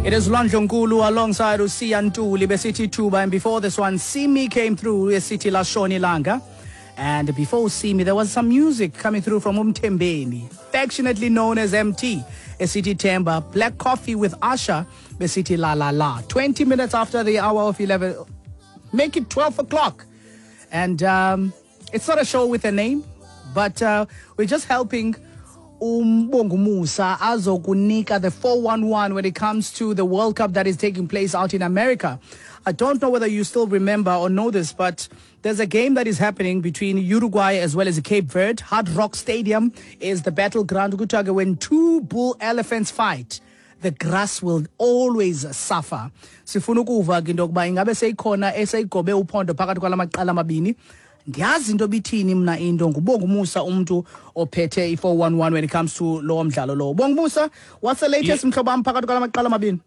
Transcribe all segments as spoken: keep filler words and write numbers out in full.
It is Lwandle alongside uSiya Ntuli besithi Tuba, and before this one Simi came through esithi Lashona Ilanga. And before Simi there was some music coming through from Umtembeni, affectionately known as M T, esithi Temba. Black Coffee with Asha besithi La La La. twenty minutes after the hour of eleven, make it twelve o'clock. And um, it's not a show with a name, but uh, we're just helping uMbongumusa azokunika the four one one when it comes to the World Cup that is taking place out in America. I don't know whether you still remember or know this, but there's a game that is happening between Uruguay as well as Cape Verde. Hard Rock Stadium is the battleground. Kuthiwa ke when two bull elephants fight, the grass will always suffer. Sifuna ukuva ke into yokuba ingabe seyikhona eseyigobe uphondo phakathi kwala maqela amabini. Ndiyazi into bithini mna into nguBongumusa umntu ophethe i-four one one when it comes to lowo mdlalo lowo. Bongumusa, what's the latest, mhlobo wam, phakathi kwala maqela amabini?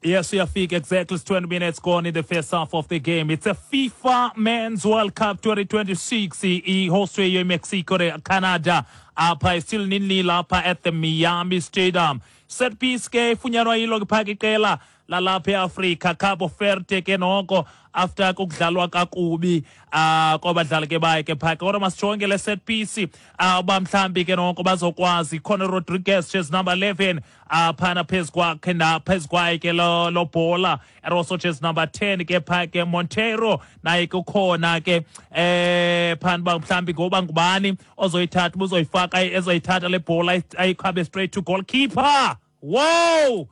Yes, uyafika exactly. It's twenty minutes gone in the first half of the game. It's a FIFA Men's World Cup twenty twenty-six. I-hostwe Mexico, Canada. Apha still nil apha at the Miami Stadium. Set piece ke ifunyanwa yilo ke phaka iqela lalapha eAfrika, Cabo Verde ke noko, after kukudlalwa kakubi uh kwabadlali ke baye ke phaka, kodwa masijonge le set piece uh uba mhlambi ke noko bazokwazi. Conor Rodriguez, jersey number eleven, uh phana phezu kwakhe na phezu kwaye ke lo lo bhola, and also jersey number ten ke pha ke Montero naye kukhona ke eh phana uba mhlambi ngoba ngubani ozoyithatha, uzoyifaka, ezoyithatha le bhola ayikhabe straight to goalkeeper. Wow,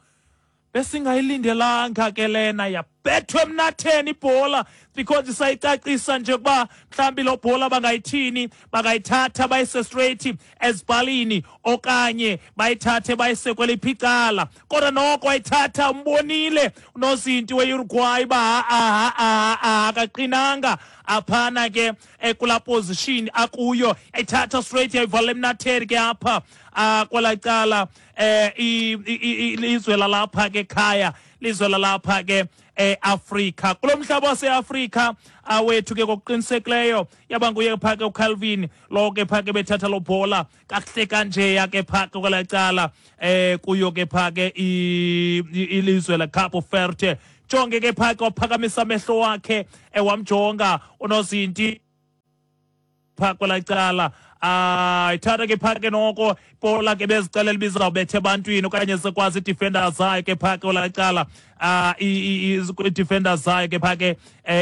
besingayilindelanga ke lena, yabethwa emnatheni ibhola, because isayicacisa nje ukuba mhlawumbi lo bhola bangayithini, bangayithatha bayise straight ezipalini okanye bayithathe bayise kweliphi icala. Kodwa noko wayithatha, umbonile unozinti we-Uruguay uba ha ha akaqinanga aphana ke kulaa position akuyo, ayithatha straight yayivala emnatheni ke apha uh, kwelaa cala eh ilizwe lalapha ke ekhaya, lizwe lalapha ke eAfrika, kulo mhlaba waseAfrika awethu ke. Ngokuqinisekileyo yaba nguye pha ke uCalvin lo ke pha ke bethatha lo bhola kakuhle kanjeya ke pha ke kwelaa cala eh kuyo ke pha ke ilizwe la Cape Verde. Jonge ke pha ke, waphakamisa amehlo wakhe, ewamjonga unozinti pha kwelaa cala. Ah, ithatha ke pha ke noko ibhola ke bezicelela ibizawubetha ebantwini okanye sikwazi ii-defenders zayo ke pha ke kwelaa cala, ah ii-defenders zayo ke pha ke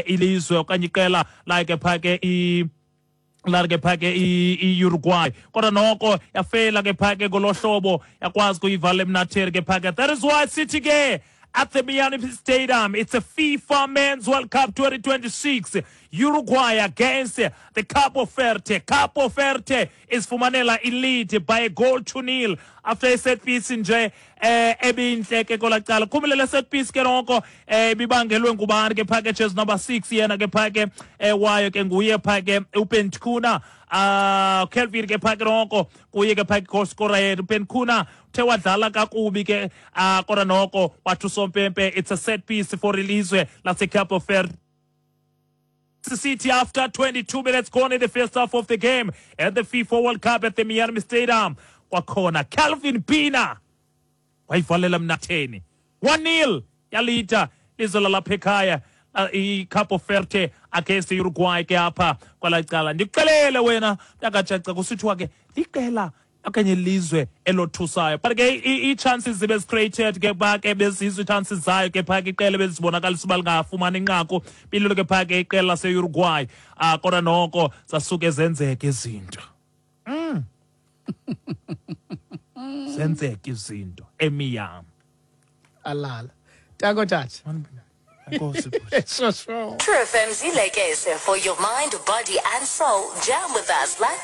ilizwe okanye iqela layo ke pha ke laa ke pha ke i-Uruguay. Kodwa noko yafela ke pha ke ngolo hlobo, yakwazi kuyivala emnatheni ke pha ke. That is why sithi ke at the Miami Stadium, it's a FIFA Men's World Cup twenty twenty-six. Uruguay against the Capo Verde. Capo Verde is fumanela i-lead by a goal to nil after a set piece nje eh ebinhle ke kwelaa cala. Khumbule le set piece ke noko eh ibibangelwe ngubani ke pha ke? Jersey number six yena ke pha ke eh wayo ke nguye pha ke uPenkuna, ah Kelvin ke pha ke noko kuye ke pha ke goal scorer yethu uPenkuna uthe wadlala kakubi ke, ah kodwa noko wathi usompempe it's a set piece for ilizwe laseCapo Verde. City after twenty-two minutes gone in the first half of the game at the FIFA World Cup at the Miami Stadium. Kwakhona Calvin Pina wayivalela mnatheni, one nil yalita lizwe lalapha ekhaya iCapo Verde against Uruguay ke apha kwelaa cala. Ndikuxelele wena mntakajaca, kusithiwa ke liqela okanye lizwe elothusayo, but ke ii-chances zibe created ke pha ke, bezizo ii-chances zayo ke pha ke iqela bezibonakalisa uba lingafumani inqaku bililo ke pha ke iqela lase-Uruguay, ah kodwa noko zasuke zenzeka izinto mm. zenzeka izinto eMiami. Alala tako tata. Enkosi, bhuti. Sure sure. True F M's Ilekese for your mind, body, and soul. Jam with us like